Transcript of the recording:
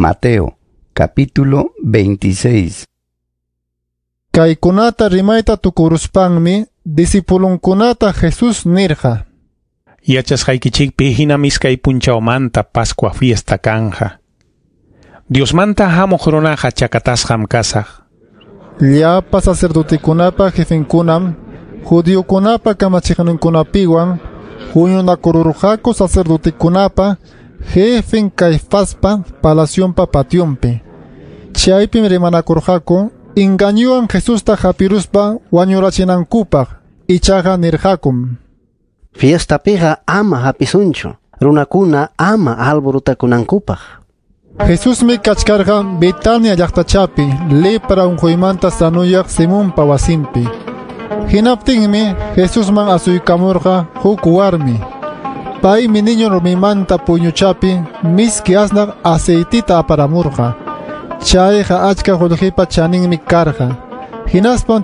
Mateo, capítulo 26. Kaykunata rimayta tukuruspanmi disipulunkunata Jesús nirqa: Yachasqaykichikpi hinam iskay punchawmanta Pascua fiesta kanja. Diosmanta hamuq runaqa chakatasqam kasaq. Llapa sacerdotekunapa jefenkunam judiokunapa kamachiqninkunapiwan huñunakururqaku sacerdotekunapa jefen Caifaspa palacionpa pationpi. Chaypim rimanakurqaku engañuwan Jesusta hapiruspa wañurachinankupaq, ichaqa nirqakum: Fiestapiqa ama hapisunchu, runakuna ama alborutakunankupaq. Jesusmi kachkarqa Betania llaqtachapi lepra unquymanta sanuyaq Simonpa wasinpi. Hinaptinmi Jesusman asuykamurqa huk warmi. Paymi niño rumimanta puyñuchapi miski asnaq aceitita aparamurqa. Chayqa achka qullqipa chaninmi karqa. Hinaspan